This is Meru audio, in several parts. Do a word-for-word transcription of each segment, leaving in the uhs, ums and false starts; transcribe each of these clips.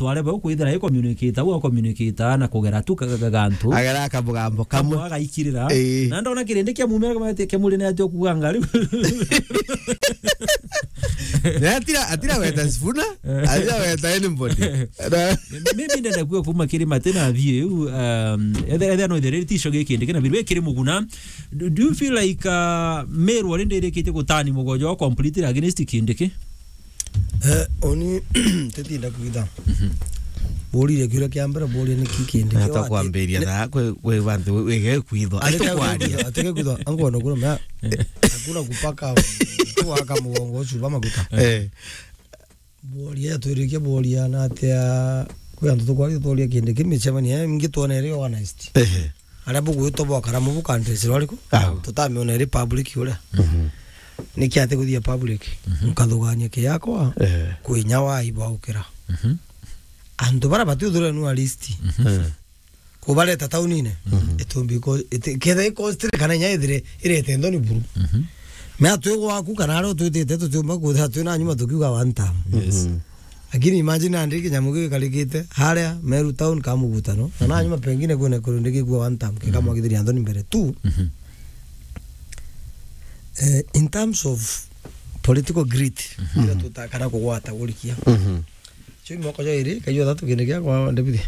Ware bau kwithira i communicate, au communicate na kugera tu ka-, ka-, ka-, gantu. Agera kamugambo kamwe. Kamwe agaikirira. Ii. Na ndona kirindi kia mumera kama ati kia muri ni ajo kuga ngari. Na atira, atira weta Sifuna, atira weta anybody. Na maybe ndenda kuga kuma kiri Mate na Athie, um, ethe, ethe no ithere ti icoge Kindiki na Biru, kiri Muguna. Do, do you feel like, uh, Meru already irikitie gutani mugonjo wa completely against Kindiki? Eh, oni titinda kwitha. Mhm. Borire kiuria kia mbere, boria ni ki Kindiki. Nata kwambiria na kwe, kwe bantu wege kwitho. Atikwaria. Atikwaria. Angona kuna mea. Hakuna kupaka kuwaka mugongo ucio ba maguta. Eh. Boria, twirikia boria na atia, kwi antu tukwaria, tworia Kindiki, micemanio ya ingi twona iri organized. Ehe. Aria bugwitwa bwa Karamu bu countries rwariku? Au. Tutamiona iri public uria. Mhm. Niki ati kuthia public? Mhm. Nkathugania kiakwa, ehe, kwi inya wa ibaukira. Mhm. Antu bara batiuthurwa nua list. Mhm. Eh. Kubareta taunine, mhm, itumbi ko-, iti-, ketha i cost kana inya ithire irete nthoni buru. Mhm. Mea twi gwaku kana aria utwitite tutiumba kwithira twina nyuma tukiuga one term. Yes. Mhm. Lakini imagine andi kinyamu giu gikarikite haria Meru town ka mugutano, na na nyuma pengine kwina kurundikiigua one term, kikamwagithiria nthoni mbere tu. Mhm. Eh, in terms of political grit, mhm, ira tutakana kugwata gurikia. Mhm. Cio imoko jairi, kaijua thatu kindi kia kwa David.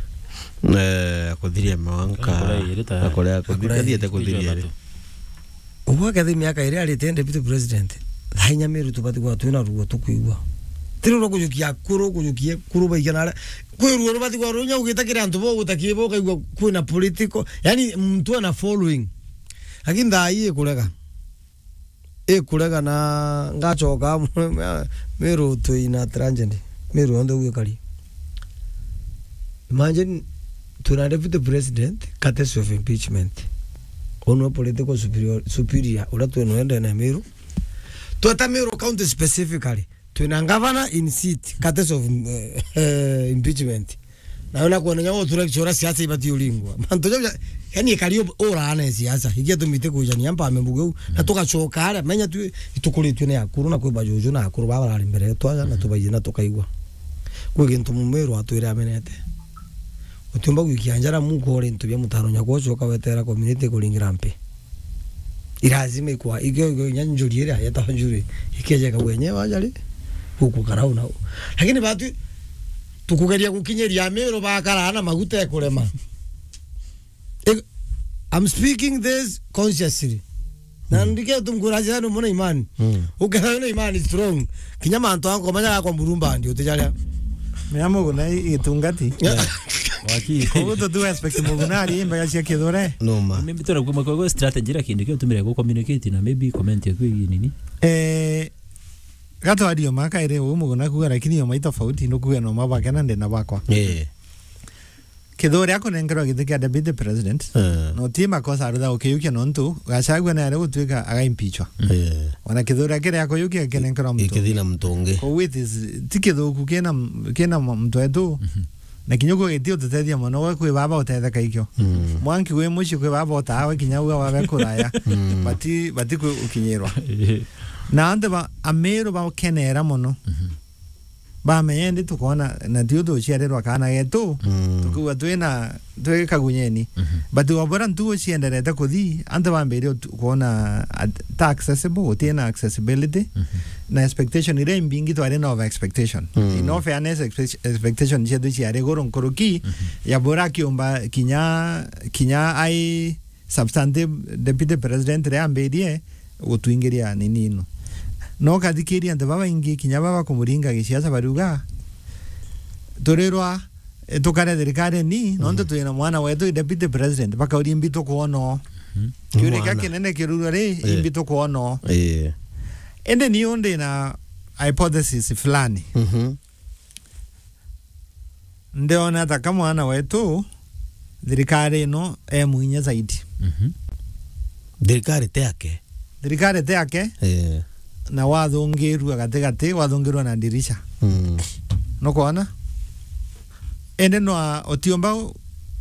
Eh, kuthiria mwanka. Akora iri ta na kuria kuthi-, akora iri. Kathiete kuthiria iri. Ugwa kathi miaka iri arite deputy president. Thainya Meru tubati kwa twina ruo tukwigua. Tiri ruo kujukia kuru, kujukie kuru baigana ara. Kwi ruo rubati kwa runya ugita kiri antu bo gutakie bo kaigua kwina political. Yani mtu ana following. Lakini thaa ii ikurega. Ikurega na ngacoka Meru twina tragedy. Meru yonthe ugikari. Imagine, twina deputy president, courtesy of impeachment. Unu political superior, superior, uria twina ende na Meru. Tweta Meru County specifically. Twina governor in seat, courtesy of, eh, eh, impeachment. Na ona kuona nya utura kichora siasa ibati uringwa. Mantu jau ja, yani ikari u-, urana siasa. Igia tumite kujania mpame mbugu u. Na tugacoka aria, menya tu, itukuritwe ni akuru na kwi bajuju na akuru baba bari mbere yetu aja, na tubaije na tukaigua. Kwi gintu Mumiru atwire amenete. Utiumba gwikia njara muko uri into bia mutano nyakwa ucoka wetera community kuringira mpi. Irazima ikwa, ikio, ikio, inya njuri iria yetagwa njuri, ikeje kagwenye wajari, guku karau nau. Lakini batu, tukugeria gukinyiria Meru bakara na maguta ekurema. Ik-, I'm speaking this consciously. Na ndike tumkuraja no mona imani. Mm. Ukethira wina imani strong. Kinya mantu anko manya gakwa mburumbandi utijaria. Mea Muguna i-, itungati. Yeah. Waki. Koguo tu tu expect Muguna ari imbaga cia Kithure. No ma. Maybe tuna kuma kwa strategy ira kindu kio tumire ku communicate na maybe comment ya kwi nini. Eh, gatwario maka ire u Muguna kuga lakini yo mai tofauti no kuga no mabake na ndena bakwa. Eh. Kithure akunenkerwa giti kia deputy president, eh, no ti makosa aritha ukiyukia nontu Gachagua ni ari gutuika agaimpichwa. Eh. Ona Kithure akiri akuyukia akinenkerwa muntu. Ikithina muntu ungi. Koguo it is, ti kithuku kina, kina muntu wetu. Mhm. Na kinya uguo giti ututethia mono, we kwi baba utetheka ikio. Mm. Mwanki wi mucii kwi baba utaa we kinya uga wabe kuraya. Mm. Bati, bati kwi ukinyirwa. Na antu ba, Amiru bakenera mono. Mhm. Bamenya indi tukona na tio tuciarirwa kana getu, mm, tukiuga twina, twi kagunyeni. Mhm. But wabora ntugu cienderete kuthi, antu bambire utu-, kuona at-, ta accessible, gutina accessibility, mhm, na expectation iria imbingi twari na over expectation. Mm. In all fairness, expect-, expectation cietu ciari iguru nkuruki, mhm, ya bora akiumba kinya, kinya ai substantive deputy president riria ambirie gutwingiria nini ino. No ukathikiria antu babaingi kinya baba kumuringa gisiasa bariuga, turirwa, eh, tukare thirikari ni, nontu, mm, twina mwana wetu i deputy president, bakauria imbi tukwona o. Mhm. Kiuria kia kinene kirurwa ri, eh, imbi tukwona o. Eh. Indi ni undi na hypothesis fulani. Mhm. Ndiona ta ka mwana wetu, thirikari ino e mwinya zaidi. Mhm. Thirikari ti yake. Thirikari ti yake. Eh. Na wathungirua gatigati, wathungirua na dirisha. Mm. Nukwona? Indi no utiumba u-,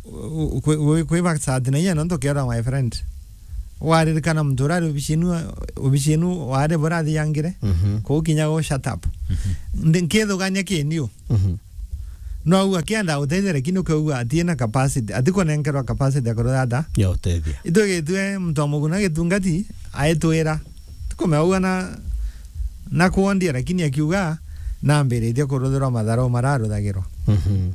u-, kwi-, kwi-, kwiba sati na inya nontu kiora my friend. Waririkana muntu uria ari obici inu, obici inu wari burathiangire, mhm, kuu kinya go shut up. Mhm. Ndi-, nkithugania kiniu. Mhm. No au akienda uteithia, lakini ukaigua atiina capacity, atikunenkerwa capacity ya kurutha ata? Ya uteithia. Itwigitue muntu wa muguna gitungati, aitwira. Tukumea ugua na, na kuondia, lakini akiuga, nambiritie kuruthirwa matharau mararuthagirwa. Mhm.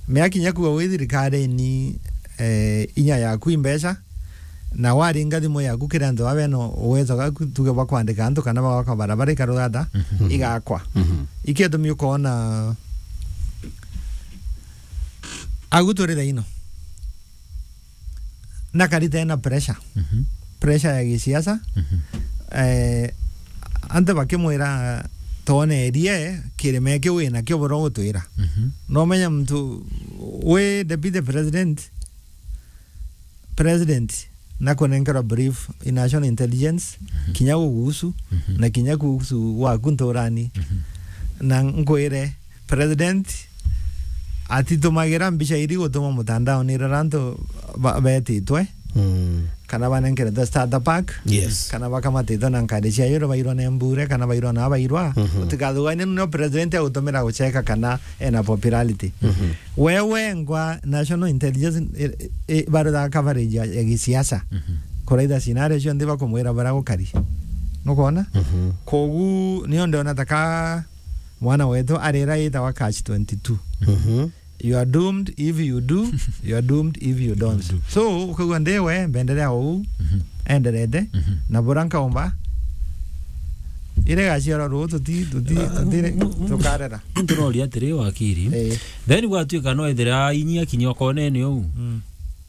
Mea kinya kuuga wi thirikarini, eh, inya yaku i mbeca, na waringa thimu yaku kiri antu baa bena uwezo gaku, tuge bwa kwandika antu kana bagwaka barabara ikarutha ata? Mhm. Igakwa. Mhm. Ikio gitumi ukoona agu turi thaino. Na karita ena pressure. Mhm. Pressure ya gisiasa. Mhm. Eh, antu bakimwira, "Twonerie kirime kiu wina kio bura gutwira." Mhm. No menya muntu wi deputy president, president na kunenkerwa brief i national intelligence, mhm, kinya gugusu, mhm, na kinya gugusu waku nturani. Mhm. Na nkwire, president atitumagira mbica iri gutuma mutandaoni rira antu ba-, betitwe, mm, kana banenkeretwe starter pack, yes, kana bakamatitwe na nkadi cia yuro bairwa na mbure, kana bairwa na bairwa. Mhm. Utikathuganie nio president agutumira gucheka kana ena popularity. Mhm. Wewe ngwa national intelligence, i, i, barutha coverage ya, ya gisiasa. Mhm. Kuraitha scenario cionthe bakumwira bara gukari. Nukwona? Mhm. Kogu nio ndiona taka mwana wetu arira yitawa catch twenty-two. Mhm. You are doomed if you do, you are doomed if you don't. You do. So, ukaigua ndi we, mbenderea uu, mhm, enderete, mhm, na bura nkaumba, ire gaciara ruu tuti, tuti, ah, tuti, mu-, mu-, tukarera. Turoria atiri wakiri. Eh. Then gwatuika no ethira inyia kinya okonene uu. Mm.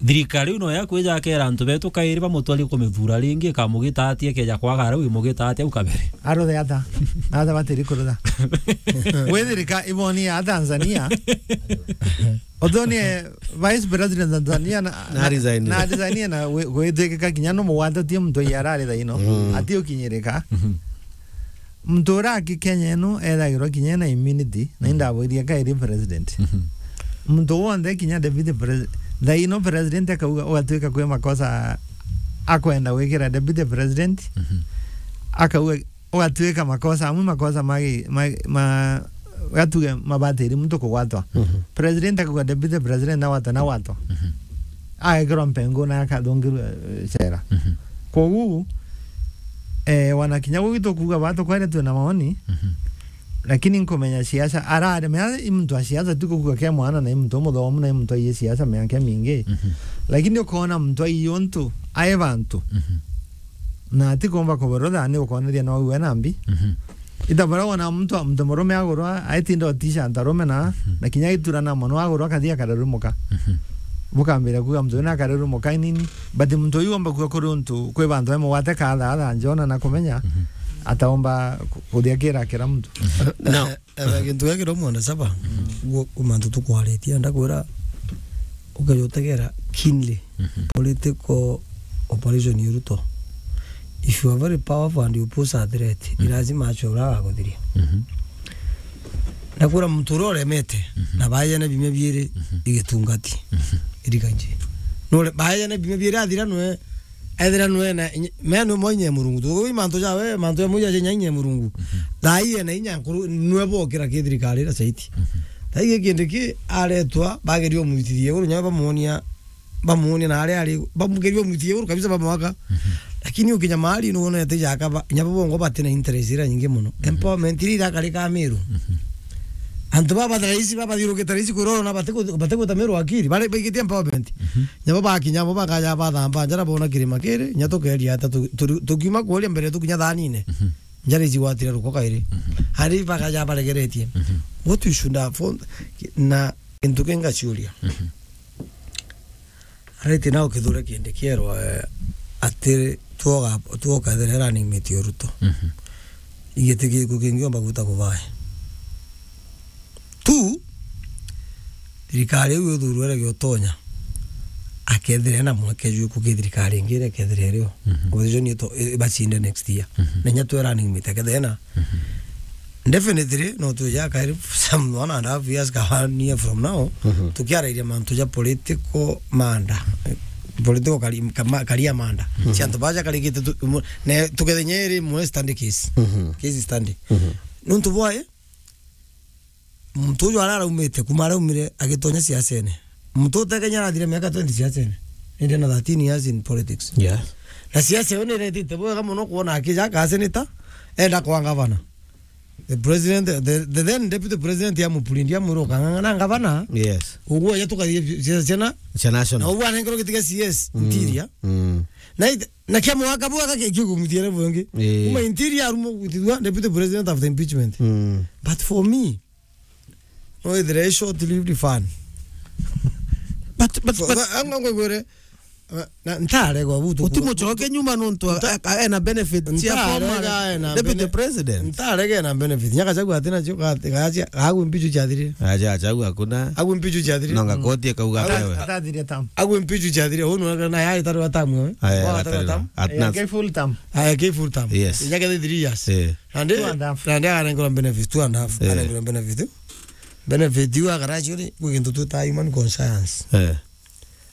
Thirikari ino ya kwija akera antu betu kairi bamutwari kumithura ringi, ikamugita atia, ikeja kwaga riu imugita atia au kabere? Aruthe ata? Ata batiri kurutha? Wi thirika-, iboni ya Tanzania. Uthoni, eh, Vice President Tanzania na, na, na resign, na resign na wi-, gwitwikika kinya no mugwatatie muntu ya arari thaino. Mm. Ati ukinyirika. Mhm. Muntu uria aki Kenya ino ethagirwa kinya ena immunity, na, mhm, indaboirie kairi president. Mhm. Muntu wonthe kinya deputy president, thaino president akauga, ugatwika kwi makosa akwenda gwikira deputy president, mhm, akauga, ugatwika makosa, amwe makosa magi-, ma, ma, gatuge mabatiri muntu kugwatwa. Mhm. President akauga deputy president nawatwa, nawatwa. Mhm. Agekirwa mpengu na akathungirwa, eh, cera. Mhm. Kogu, eh, wana kinya gugi tukuuga ba tukwere twina maoni, mhm, lakini nkumenya siasa, arare, mea i muntu wa siasa, ti kuuga ke mwana, na i muntu umuthomu, na i muntu aiye siasa miaka mingi. Mhm. Lakini ukoona muntu aiye untu, ae bantu. Mhm. Na atikumba kuborotha, ni ukoneria no we na mbi. Mhm. Ita bara wona muntu, muntu murume agurwa, aitinda utisha antu arume na, mhm, na kinya iturana mono agurwa akathi akarerumuka. Mhm. Bukambira kuuga muntu wina akarerumuka inini, but muntu uyu omba kuuga kuri untu kwi bantu bamugwate kaatha, atha njona na kumenya, mhm, ataomba ku-, kuthia kira kira muntu. Mhm. Now, eh, eh, gintu gia kiro mwanda saba, mm, guo mantu tukwaritie, ndakwira, ukeja utegera keenly, mhm, political operation ya Ruto. If you are very powerful and you pose a threat, mm, ni lazima acio ura agakuthiria. Mhm. Ndakwira muntu uria uremete, mhm, na baejane bimia biiri, mhm, igitungati. Mhm. Irikanji. Nure, baejane bimia biiri athira nwe, ethira nwe na inya, mea nwe mwa inya ya Murungu. Tukuwi mantu jawe, mantu ya muja jenya inya ya Murungu. Mhm. Thaa ii ena inya nkuru, nwe bokira ki thirikari ira saiti. Mhm. Thaa ii kindi ki aretwa, bageria umwitithia iguru, nyawe bamuonia, bamuonia na aria ari, bamugeria umwitithia iguru kabisa, bamwaka. Mhm. Lakini ukinya mahali nuona ati jaka ba, nya bo bongo batina interest ira nyingi muno. Mhm. Empowerment ira irakari ka Meru. Mhm. Antu baba thaa ici, baba thirukite thaa ici kuroro na batiku-, batigwita Meru akiri, bari baigitie empowerment. Mhm. Nya bo bakinya, bo bakaja bathamba njara bona kirima kiri, nya tukeria ata tu-, tu-, tukiuma kuria mbere tukinya thanine. Mhm. Njara ici gwatire ruko kairi. Mhm. Ari bakaja baregeretie. Mhm. What we should have found, na gintu kingaciuria. Mhm. Ariti nao kithure kindi kierwa, eh, ati twoga, twokethira running mate ya Ruto. Mhm. Igiti giku kingiomba gwita kubae. Tu, thirikari iu ithurwe ira giotonya, akethira ena mweke jwiku ki thirikari ingi iria ikethira irio. Mhm. Opposition ito-, i-, ibacinde next year. Mhm. Na inya twe running mate akethira ena. Mhm. Definitely, no twija kairi some one and a half years ka one year from now, mhm, tukiarairia mantu ja political manda. Political kari-, kama-, career manda. Mhm. Cia antu baja karigite tu-, mu-, ne tukethe nyeri mwe study case. Mhm. Case study. Mhm. Nuntu bwae, muntu uju ara araumite, kuma araumire agitonya siasene. Muntu utekenya arathire miaka twenty siasene. Indi na thirteen years in politics. Yes. Na siasa iyo niretite bwega muno kwona akija ka senator, enda kwa gavana. The president, the, the then deputy president ya Mupurindi amwira ukang'ang'ana gavana. Yes. Uguo ya tukathie siasa ciana. Cia national. Na uguo anengerwo giti kia C S, mm, interior. Mm. Na ite-, na kia mwaka bwaka ke kiugumithia level ingi. Eh. Kuma interior arumo gutithua deputy president after impeachment. Mm. But for me, no, ithire short lived fun. But, but, but anga ngwegwere, na ntarega butu utimucoke nyuma nontu a-, a-, ena benefit cia former deputy president. Ntarega ena benefit. Nyaka chagu atina cio gacia, agu mpichu chathire. Acha, acha, agu hakuna. Agu mpichu chathire. Nonga koti akauga apewe. Atathiria tam. Agu mpichu chathire. Unu na yari taru atamu, eh? Aya, taru atamu. Aya, ke full term. Aya, ke full term. Yes. Nyaka the three years. Eh. Nandi, two and a half. Nandi aganengwa benefit, two and a half. Eh. Aganengwa benefit. Benefit iu akarachi uri, kwi gintu twita human conscience. Eh.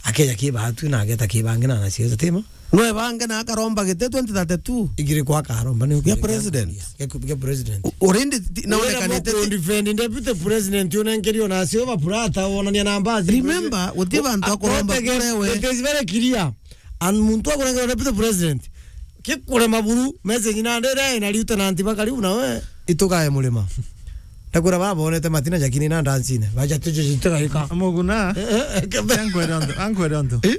Akeja ki batu na ageta ki bangi na na siasa tima. No ebange na akaromba gite twenty thirty-two. Igiri kwa akaromba ni ya president. Ya ku-, ya president. U-, already ti-, na wira unekanite ti- defend deputy president unenkerio na sio ba purata wonania na mbazi. Remember, guti bantu akoromba kurewe. It is very clear. And muntu akurengera deputy president. Kikurema buru, message na ndere na lieutenant bakari na we itugae murima. Ndakwira baba bonete matina jakini na ndancine. Baja tujo jitugaika. Muguna. Eh, eh, eh, kebe- Ankwere onto, ankwere onto. Eh?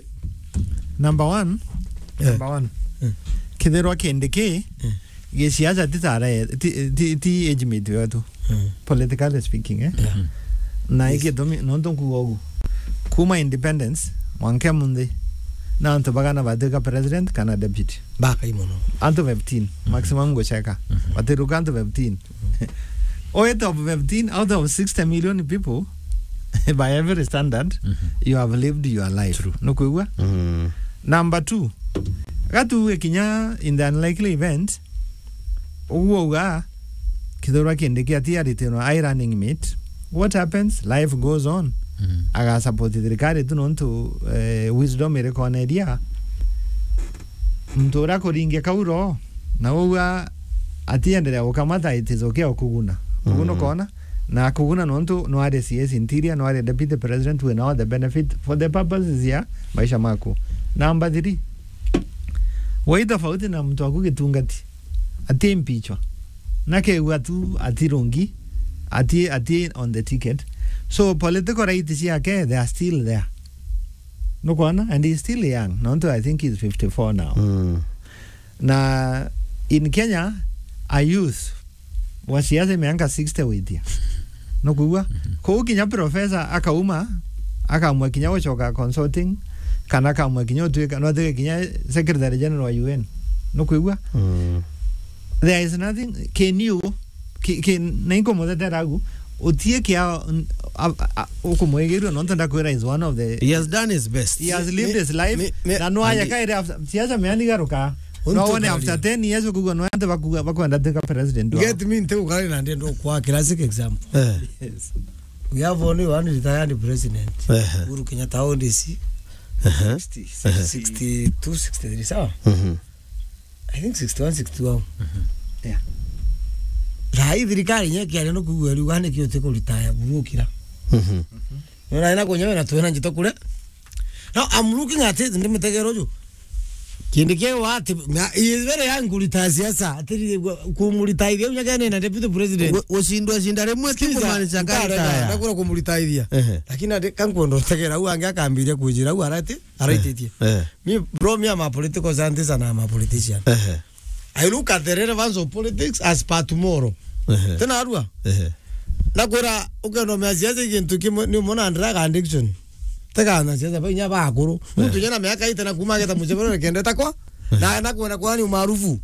Number one. Eh. Number one. Eh. Kithirwa kindi ki, eh, giciaca ti tara, ti, ti, ti age mate wetu. Mm. Politically speaking, eh? Yeah. Na, yes, igitumi, nontu nkuga ugu. Kuma independence, mwanka munthi, na antu bagana batwika president kana deputy. Bakai muno. Antu fifteen, mm, maximum gucheka. Mm-hmm. Batiruka antu fifteen. Out of fifteen, out of sixty million people, by every standard, mm-hmm, you have lived your life. True. Nukwigua? Mm. Number two, gatuge kinya in the unlikely event, uguo uga, kithurwa kindi kia ti aritinwa ai running mate. What happens? Life goes on. Mm. Aga support thirikari tu nontu, eh, wisdom iri koneria. Muntu uria kuringia kauro, na uga atiendelea gukamata, it is okay kuguna. Kuguna, mm, ukona? Na kuguna nontu no ari C S interior, no ari deputy president, we know the benefit for the purposes ya maisha maku. Number three, wai tofauti na muntu waku gitungati. Ati mpichwa. Na kegua tu ati rungi, ati, ati on the ticket. So political rights ciake, they are still there. Nukwona? And he's still young. Nontu I think he's fifty-four now. Mm. Na in Kenya, a youth wa siasa miaka sixty witia. Nukwigua? Mhm. Kuu kinya professor akauma, akamua kinya gucoka consulting, kana akamua kinya utuika, no atuike kinya secretary general wa U N. Nukwigua? Mm. There is nothing, can you, ki, ki, na inkumuthetera agu, utie kia, a, a, a, ukumwigirua, nontu ndakwira is one of the, he has done his best. He has lived his life, na no aya kaire after, siasa meani garuka. No wone after ten years ukugua no ante bakugua bakwenda tuika president wao. Get me, nte ukari na ndendo kwa classic example. Eh. Yes. We have only one retired president. Eh. Uhuru Kenyatta, how old is he? Eh. Sixty, sixty-two, sixty-three, sawa? Mhm. I think sixty-one, sixty-two. Mhm. Yeah. Rai thirikari nye kiaria no kugua riu gani kio tiko retire burukira. Mhm. Nona ina kunyewe na twena njito kure. Now I'm looking at it, ndimitegero ju. Kindi kiu ati, na, he is very young kurita siasa, ati kumurita ithe unya kene na deputy president. Gu-, gucindwa cinda rimwe ti kumaanisha karitaya. Ndakura kumurita ithia. Ehe. Lakini ati kankwenda utegera u angi akambiria kujira u arati, araititie. Eh. Me, bro, me, I'm a political scientist and I'm a politician. Ehe. I look at the relevance of politics as per tomorrow. Ehe. Tena arua. Ehe. Nakura ukenda umea siasa gintu kimwe ni umona drug addiction. Tega na siasa ba inya bakuru. Muntu nyena miaka ite na kuma ageta mucebero kende takwa. Na na kuona kwa ni umaarufu.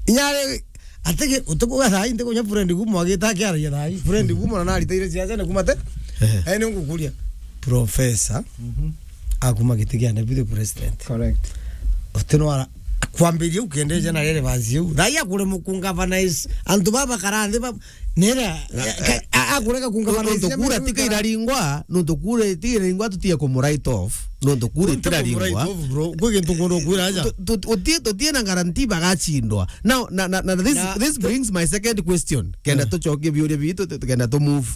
Inya re atege utukuga thaa inde kunya friend gumo agita akiaragia thaa. Friend gumo na naritaire siasa na kuma te. Ehe. Ene ngukuria. Professor. Mhm. Akuma giti kia deputy president. Correct. Utinwara kwambiria ukende jana rere banzi u. Thai akure mukunga banais. Antu baba karande ba nera. A, akurega kunga nontu kura tika iraringwa, nontu kura tika iraringwa, tutie kumu write off, nontu kura itiraringwa. Kwi gintu nkundu kwira aja. Tu-, tu-, utie, tutie na guarantee bagacindwa. Now, na, na, na this, na this brings my second question. Kenda tucokie biuria bitu, tu-, kenda tu move.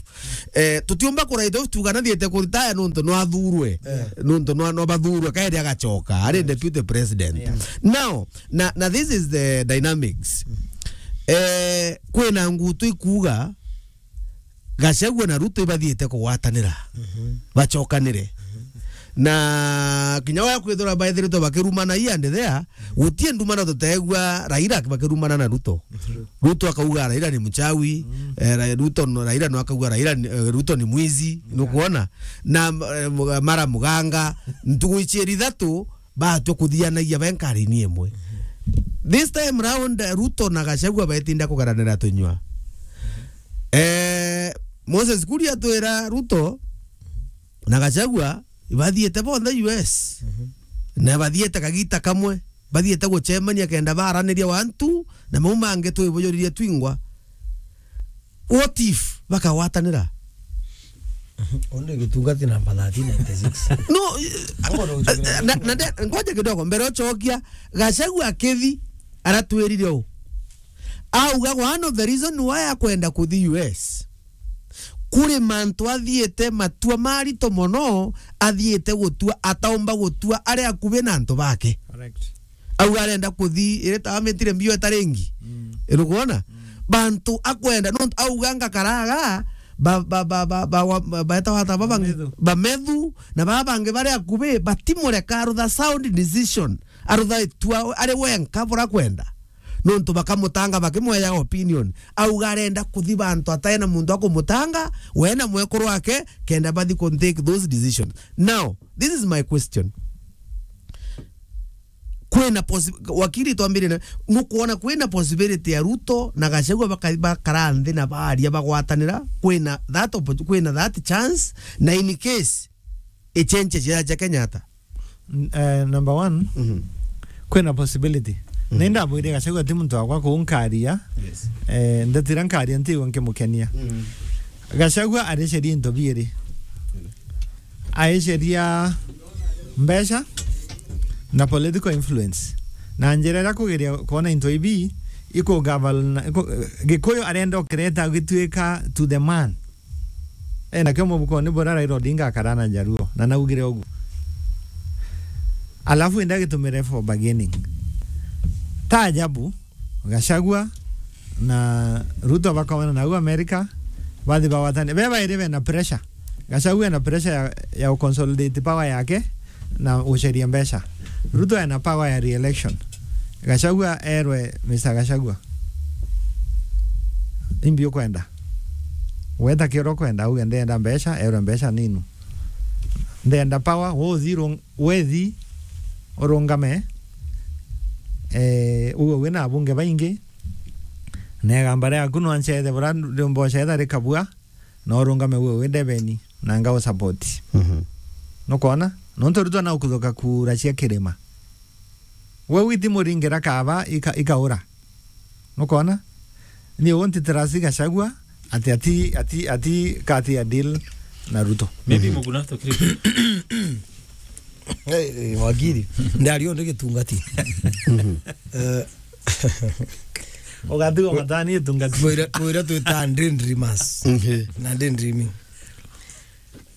Eh, tutiumba ku write off tuga nathiete ku retire nontu no athurwe. Nontu no, no bathurwe, kaende agacoka. Ari deputy president. Now, na, na this is the dynamics. Eh, kwina ngutu ikuga, Gachagua na Ruto ibathiite kugwatanira, bacokanire. Na kinya wa kwithira baithiritwe bakirumana hii and there, gutie ndumano tutegua Raila bakirumana na Ruto. Ruto akauga Raila ni mchawi, eh, Ra-, Ruto no, Raila no akauga Raila ni, eh, Ruto ni mwizi, nukwona? Na, eh, mga-, mara muganga, ntugu icieri ithatu, baatwe kuthianagia be nkari-ini imwe. This time round, Ruto na Gachagua betinda kugaranira tunyua. Eh, Moses Kuria atwira Ruto na Gachagua bathiete bonthe U S. Na bathiete kagita kamwe, bathiete gucemania kenda baraniria wantu, na mau mangi twibujuririe twingwa. What if bakagwatanira? Onde gitungati namba thirteen ninety-six. No, na, na, na, ngoja kidogo, mbere ucokia, Gachagua akithi, aratwirire u. Auga one of the reason why akwenda kuthi U S, kuri mantu athiite matua marito mono, athiite gutua, ataumba gutua ari akubi na antu bake. Correct. Au arenda kuthi, iri ta amitire mbio etaringi. Irukwona? Bantu akwenda, nontu auga ngakaraga, ba, ba, ba, ba, ba, wa, ba, baeta wata baba ngi-, Bamethu. Bamethu, na baba bangi bari akubi, batimureka arutha sound decision. Arutha itua, ari wenka bura kwenda. Nontu bakamutanga bakimweya opinion. Auga arenda kuthi bantu ataena muntu akumutanga, we na mwekuru wake, kenda bathi ku take those decisions. Now, this is my question. Kwina possi-, wakiri twambirire, nukwona kwina possibility ya Ruto na Gachagua baka-, bakara nthi na baria bagwatanira, kwina that oppo-, kwina that chance, na in case ichenche cia, cia Kenyatta? N-, eh, number one, kwina possibility. Nindabwire Gachagua ti muntu wakwa kunkaria. Yes. Eh, ndatira nkaria ntigwa nkimukenia. Gachagua ariceria into biiri. Aiceria mbeca na political influence. Na njira iria kugeria kwona into ibi, ikugavalna, iku-, Gikuyu arenda ukireta gituika to the man. Ena kio mubukoni bura Raila Odinga akara na Jaluo, na naugire uguo. Alafu enda gitumire for bargaining. Ta ajabu, Gachagua na Ruto bakomana nau America, bathi bagwatane. Be bairi bena pressure. Gachagua ena pressure ya, ya consolidate power yake na guceria mbeca. Ruto ena power ya re-election. Gachagua erwe, Mister Gachagua, imbi ukwenda? Weta kiro kwenda, auge ndenda mbeca, erwe mbeca ninu. Ndenda power, wothi rung-, wethi urungame, eh, uwe wina abunge baingi, na igamba riaku no ncethe bura mboca etha rikabua, na urungame uwe wi ndebeni, na ngau support. Nukwona? Nontu Ruto na ukuthuka kura cia kirima. We witi muringira kaba ika-, ikaura. Nukwona? Ni unti trust Gachagua ati, ati, ati, ati kati ya deal na Ruto. Maybe Muguna tukiri. Eh, eh, wakiri. Ndari onde gitungati. Eh, Ugatigwo matani itungati. Mwira, mwira twita daydreamers. Na daydreaming.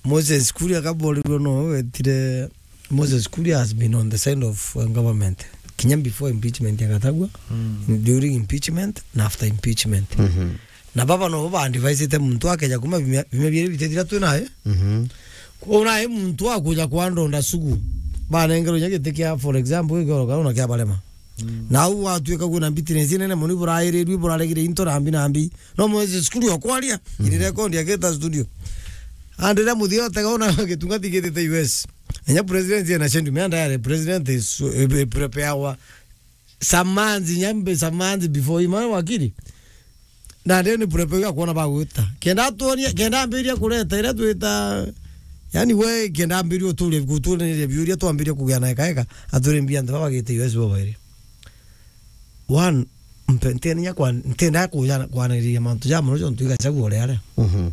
Moses Kuria akaborirwe no wetire, Moses Kuria has been on the side of, uh, government. Kinya before impeachment ya Gachagua, during impeachment, na after impeachment. Na baba no ba advisete muntu akeja kuma bimia, bimia bieri bitethira twinae. Kwou nae muntu akuja kwa ndonda sugu. Banengerwo inya giti kia, for example, igoro kana kia barema. Na au gwatuika kwina bitterness inene mono, iburairiirue, iburaregire into nambi nambi. No Moses Kuria okwaria, iri record ya Gita Studio. Andira muthia otega ona gitungati gitite U S. Enya president ena shendu, me andare president is, eh, eh, prepare wa some months, nyambe some months before, ima wakiri. Na ndio ni prepare ya kuona bagwita. Kenda atuonia, kenda ambiria kureta ira twita, yani we kenda ambiria uturie, guturia biuria twambiria kugia na eka eka, aturie mbia nthe baba gite U S bo bairi. One, Mpe-, ntenia kwa-, ntenda kuja kwaniriria mantu ja mono jontu Gachagua uria aria. Mhm.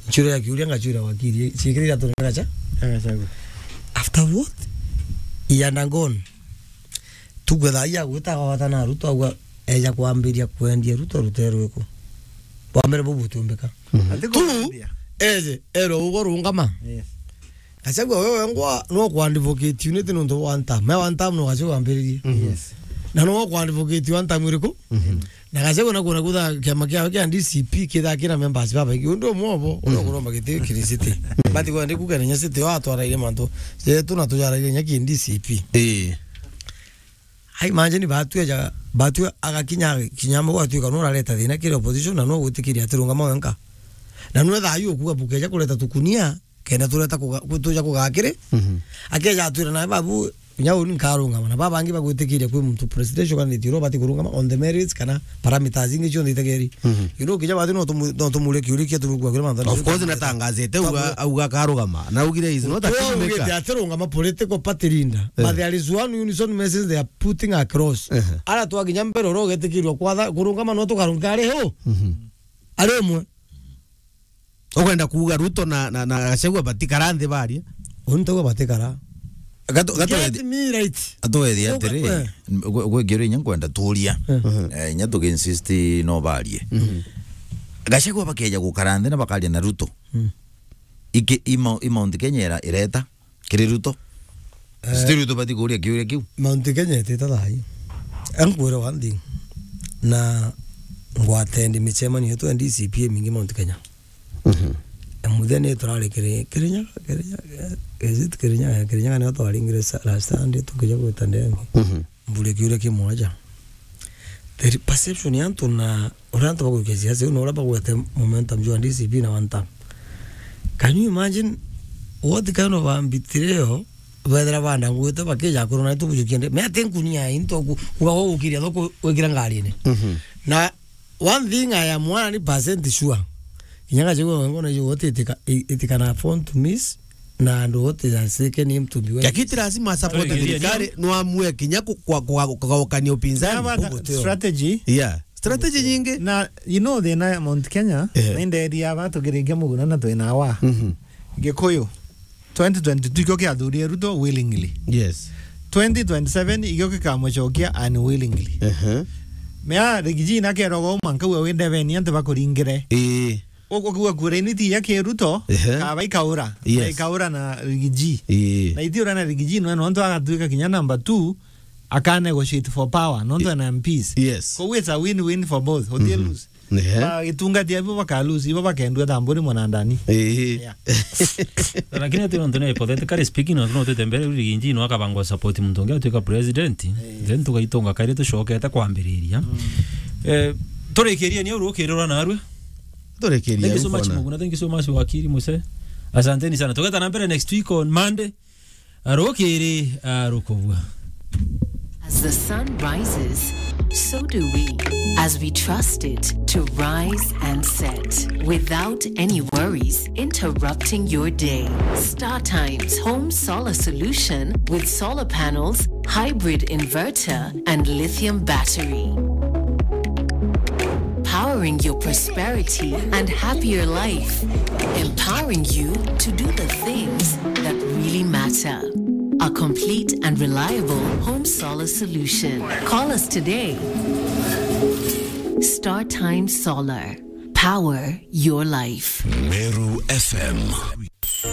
Nchuro ya kiuria ngachura wakiri, ciikirira tu Gacha. Gachagua. After what? He undergone. Tukwetha iya gwita gwata na Ruto, agwa eja kwambiria kwendia Ruto, Ruto erwe ku. Wa mbere bubu tumbika. Mhm. Ati tu, kwendia. Eje, erwe ugo rungama. Yes. Gachagua wewe ngwa no kuadvocate unity nontu wa one term. Me one term no Gachagua ambiririe. Mhm. Yes. Na no kuadvocate one term iriku? Mhm. Na Gachagua na kuona kutha kiama kiao kia D C P kitha kina members babaingi. Undu umwe obo, uria kuromba giti kiri city. Bati kwa ndiku kenya city wa twaraire mantu. Jetu na tujaraire nya ki D C P. Eh. Ai, imagine batue ja, batue agakinya kinyamo gwatuika no urareta thina kiri opposition na no gwitikiria ati rungama wenka. Na no thayu ukuga bukeja kureta tukunia, kenda tureta kuga-, ku-, tuja kugakiri. Mhm. Akeja atwira na babu, nya uni nkarungama. Na baba bangi bagwitikiria kwi muntu presidential candidate uro bati kurungama on the merits kana parameters ingi cionthe itegeri. Mhm. You know, kija bati no tumu-, no tumure kiuria kia tumukua kiri mantu. Of course, natangazite auga, auga akarugama. Na augire is not a kingmaker. Ugite ati rungama political party leader. Eh. But there is one unison message they are putting across. Eh. Ara twakinya mbere oro ugetikirwa kwatha kurungama no tukarunga ari hu? Mhm. Ari umwe. Ukwenda kuuga Ruto na, na, na Gachagua batikara nthi barie? Untu batikara. Gato, gato Get me right. Atuethia atiri, eh, gwe, gwe ngiuria inya nkwenda tuuria. Eh. Eh, inya tukiinsist no barie. Mhm. Gachagua bakeja gukara nthi na bakaria na Ruto. Mm. Iki, i Mou-, i Mount Kenya ira-, ireta kiri Ruto. Eh. Still Ruto bati kuuria kiuria kiu. Mount Kenya itita thaai. Ankwire one thing. Na ngwatendi micemanio yetu ya D C P imingi Mount Kenya. Mhm. E, muthia ni turari Kiri-, Kirinyaga, Kirinyaga, is it Kirinyaga? Kirinyaga nio twaringire sa-, last Sunday tukija gwita ndenge. Mhm. Mbure kiuria kimwe aja. The perception ya antu na uria antu bagwikia siasa iu na uria bagwete momentum jwa D C P na one term. Can you imagine what kind of a betrayal bethira banda ngwite bakija kurona tubujukia nde? Me ati nkunia into ku-, kuga gukiria thoko wikira ngarine. Mhm. Na one thing I am one hundred percent sure. Kinya Gachagua wengo na ijo wote itika-, i-, itikana afford to miss, na andu wote asike ni mtumbi wa Gakiti lazima support thirikari, no amue kinya ku-, kwa, kwa, kugaukania upinzani. Have a strategy. Yeah. Strategy nyingi. Na, you know, thina ya Mount Kenya, eh, ni nderi aba tukirikia muguna na twina wa. Mhm. Gikuyu. Twenty twenty-two ikio kiathuurire Ruto willingly. Yes. Twenty twenty-seven ikio gikamucokia unwillingly. Ehe. Mea Rigiji na keroga uma nkauga wi ndebeni antu bakuringire. Ii. Uguo kuuga kura ini ti ya ki Ruto, ehe, kaba ikaura. Yes. Ikaura na Rigiji. Ii. Na ithiura na Rigiji nwe nontu agatuika kinya number two, aka negotiate for power, nontu ena M Ps. Yes. Kou it's a win-win for both. Uti lose. Ehe. Ba gitungati abo baka lose, ibo bakendua ta mburi mwanandani. Ehe. Yeah. Lakini ati nontu ni hypothetically speaking, nontu no twite mbere Rigiji no akabangwa support muntu ungi atuika president, eh, then tugaitunga kairi tucokete kwambiriria. Mm. Eh, turikirie ni urukirira narue. Turikirie. Thank you so much, Muguna. Thank you so much, wakiri Muse. Asanteni sana. Tugeta na mbere next week on Monday. Arukiri arukubua. As the sun rises, so do we. As we trust it to rise and set without any worries interrupting your day. Star Times Home Solar Solution with solar panels, hybrid inverter, and lithium battery. Powering your prosperity and happier life. Empowering you to do the things that really matter. A complete and reliable home solar solution. Call us today. Star Time Solar. Power your life. Meru F M.